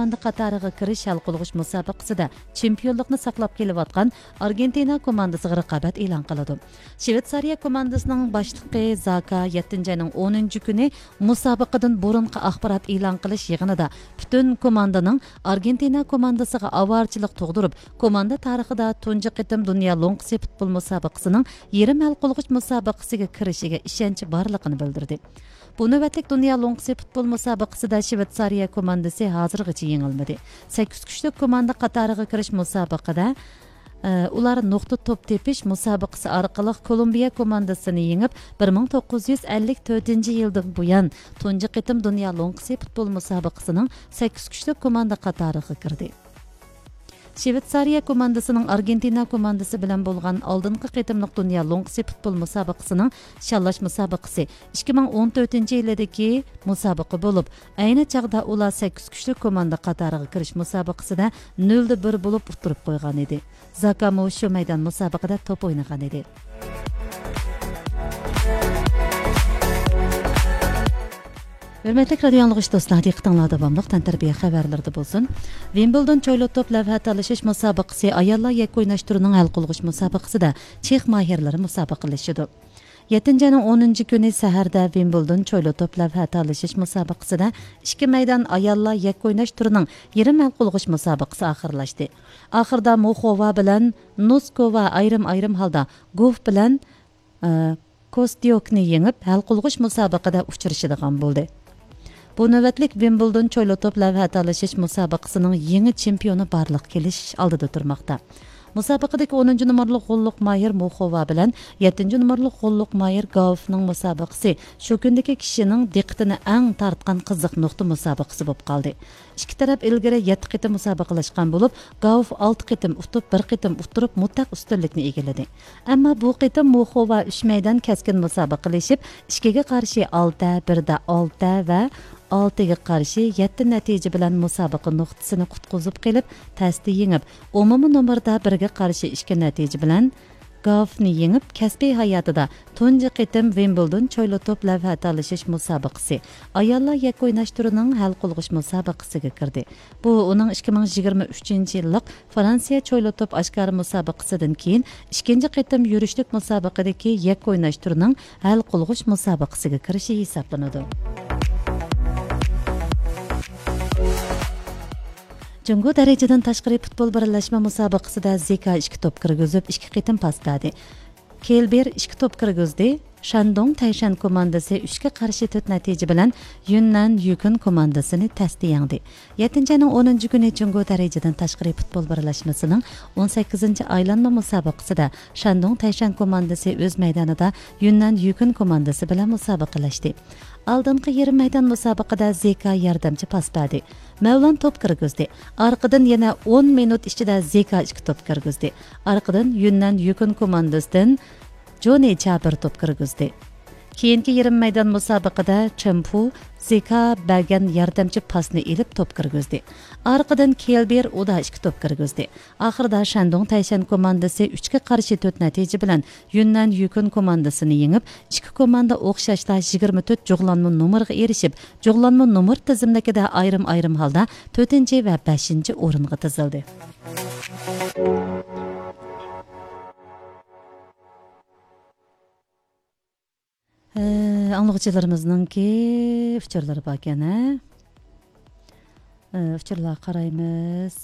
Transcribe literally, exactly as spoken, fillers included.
كوماندا قاتارىغا كىرىش ھەل قىلغۇچ مۇسابىقىسىدە چېمپىيونلۇقنى ساقلاپ كېلىۋاتقان ئارگېنتىنا كوماندىسىغا رىقابەت ئېلان قىلىدۇ. شىۋېتسارىيە كوماندىسىنىڭ باشلىقى زاكا يەتتىنچى ئاينىڭ ئونىنچى كۈنى مۇسابىقىدىن بۇرۇنقى ئاخبارات ئېلان قىلىش يىغىنىدا پۈتۈن كوماندىنىڭ ئارگېنتىنا كوماندىسىغا ئاۋارىچىلىق تۇغدۇرۇپ، كوماندا تارىخىدا تۇنجى قېتىم دۇنيا لوڭقىسى پۇتبول مۇسابىقىسىنىڭ يېرىم ھەل قىلغۇچ مۇسابىقىسىگە كىرىشىگە ئىشەنچى بارلىقىنى بىلدۈردى. بۇ نۆۋەتلىك دۇنيا لوڭقىسى پۇتبول مۇسابىقىسىدە شىۋېتسارىيە كوماندىسى ھازىرغىچە يېڭىلمىدى. سەككىز كۈچلۈك كوماندا قاتارىغا كىرىش مۇسابىقىدە، ئە، ئۇلار نۇقتا توپ تېپىش مۇسابىقىسى ئارقىلىق كولومبىيە كوماندىسىنى يېڭىپ، بىر مىڭ توققۇز يۈز ئەللىك تۆتىنچى يىلدىن بۇيان تۇنجى قېتىم دۇنيا لوڭقىسى پۇتبول مۇسابىقىسىنىڭ سەككىز كۈچلۈك كوماندا قاتارىغا كىردى. شىۋېتسارىيە كوماندىسىنىڭ ئارگېنتىنا كوماندىسى بىلەن بولغان ئالدىنقى قېتىملىق دۇنيا لوڭقىسى پۇتبول مۇسابىقىسىنىڭ شاللاش مۇسابىقىسى ئىككى مىڭ ئون تۆتىنچى يىلىدىكى مۇسابىقە بولۇپ، ئەينى چاغدا ئۇلار سەككىز كۈچلۈك كوماندا قاتارىغا كىرىش مۇسابىقىسىدە نۆلدە بىر بولۇپ ئۇتتۇرۇپ قويغان ئىدى. زاكامۇ شۇ مەيدان مۇسابىقىدە توپ ئوينىغان ئىدى. ھۆرمەتلىك رادىيو ئاڭلىغۇچى دوستلار، دىققىتىڭلار داۋاملىق تەنتەربىيە خەۋەرلىرىدە بولسۇن. ۋىمبلدون چويلا توپ لەۋھە تالىشىش مۇسابىقىسى ئاياللار يەككە ئويناش تۈرىنىڭ ھەل قىلغۇچ مۇسابىقىسىدە چېخ ماھىرلىرى مۇسابىقىلىشىدۇ. يەتتىنچى ئاينىڭ ئونىنچى كۈنى سەھەردە ۋىمبلدون چويلا توپ لەۋھە تالىشىش مۇسابىقىسىدە ئىككى مەيدان ئاياللار يەككە ئويناش تۈرىنىڭ يېرىم ھەل قىلغۇچ مۇسابىقىسى ئاخىرلاشتى. ئاخىردا موخوۋا بىلەن نوسكوۋا ئايرىم-ئايرىم ھالدا گوف بىلەن، ئە، كوستيوكنى يېڭىپ، ھەل قىلغۇچ مۇسابىقىدە ئۇچرىشىدىغان بولدى. بۇ نۆۋەتلىك ۋىمبلدون چويلا توپ لەۋھە تالىشىش مۇسابىقىسىنىڭ يېڭى چېمپىيونى بارلىققا كېلىش ئالدىدا تۇرماقتا. مۇسابىقىدىكى ئونىنچى نومۇرلۇق غوللۇق ماھىر موخوۋا بىلەن يەتتىنچى نومۇرلۇق غوللۇق ماھىر گاۋفنىڭ مۇسابىقىسى شۇ كۈندىكى كىشىنىڭ دىققىتىنى ئەڭ تارتقان قىزىق نۇقتا مۇسابىقىسى بولۇپ قالدى. ئىككى تەرەپ ئىلگىرى يەتتە قېتىم مۇسابىقىلەشكەن بولۇپ، گاۋف ئالتە قېتىم ئۇتۇپ، بىر قېتىم ئۇتتۇرۇپ، مۇتلەق ئۈستۈنلۈكنى ئىگىلىدى. ئەمما بۇ قېتىم موخوۋا ئۈچ مەيدان كەسكىن مۇسابىقىلىشىپ، ئىككىگە قارشى ئالتە، بىردە ئالتە ۋە ئالتىگە قارشى يەتتە نەتىجە بىلەن مۇسابىقە نۇقتىسىنى قۇتقۇزۇپ قېلىپ، تەستە يېڭىپ، ئومۇمىي نومۇردا بىرگە قارشى ئىككى نەتىجە بىلەن گاۋفنى يېڭىپ، كەسپىي ھاياتىدا تۇنجى قېتىم ۋىمبلدون چويلا توپ لەۋھە تالىشىش مۇسابىقىسى، ئاياللار يەككە ئويناش تۈرىنىڭ ھەل قىلغۇچ مۇسابىقىسىگە كىردى. بۇ ئۇنىڭ ئىككى مىڭ يىگىرمە ئۈچىنچى يىللىق فرانسىيە چويلا توپ ئاشكارا مۇسابىقىسىدىن كېيىن ئىككىنچى قېتىم يۈرۈشلۈك مۇسابىقىدىكى يەككە ئويناش تۈرىنىڭ ھەل قىلغۇچ مۇسابىقىسىگە كىرىشى ھېسابلىنىدۇ. جۇڭگو دەرىجىدىن تاشقىرى پۇتبول بىرلەشمە مۇسابىقىسىدە زېكا ئىككى توپ كىرگۈزۈپ، ئىككى قېتىم پاس بەردى. كېلبېر ئىككى توپ كىرگۈزدى. شەندۇڭ تەيشەن كوماندىسى ئۈچكە قارشى تۆت نەتىجە بىلەن يۈننەن يۈكۈن كوماندىسىنى تەستە يەڭدى. يەتتىنچى ئاينىڭ ئونىنچى كۈنى جۇڭگو دەرىجىدىن تاشقىرى پۇتبول بىرلەشمىسىنىڭ ئون سەككىزىنچى ئايلانما مۇسابىقىسىدە شەندۇڭ تەيشەن كوماندىسى ئۆز مەيدانىدا يۈننەن يۈكۈن كوماندىسى بىلەن مۇسابىقىلەشتى. ئالدىنقى يېرىم مەيدان مۇسابىقىدە زېكا ياردەمچى پاس بەردى. مەۋلان توپ كىرگۈزدى. ئارقىدىن يەنە ئون مىنۇت ئىچىدە زېكا ئىككى توپ كىرگۈزدى. ئارقىدىن يۈننەن يۈكۈن كوماندىسىدىن جونى چا بىر توپ كىرگۈزدى. كېيىنكى يېرىم مەيدان مۇسابىقىدە چېن پۇ زېكا بەرگەن ياردەمچى پاسنى ئېلىپ توپ كىرگۈزدى. ئارقىدىن كېلبېر ئۇدا ئىككى توپ كىرگۈزدى. ئاخىرىدا شەندۇڭ تەيشەن كوماندىسى ئۈچكە قارشى تۆت نەتىجە بىلەن يۈننەن يۈكۈن كوماندىسىنى يېڭىپ، ئىككى كوماندا ئوخشاشلا يىگىرمە تۆت جۇغلانما نومۇرغا ئېرىشىپ، جۇغلانما نومۇر تىزىملىكىدە ئايرىم-ئايرىم ھالدا تۆتىنچى ۋە بەشىنچى ئورۇنغا تىزىلدى. ئە، ئاڭلىغۇچىلىرىمىزنىڭكى ئۇچۇرلىرى باركەن، ھە؟ ئە، ئۇچۇرلارغا قارايمىز.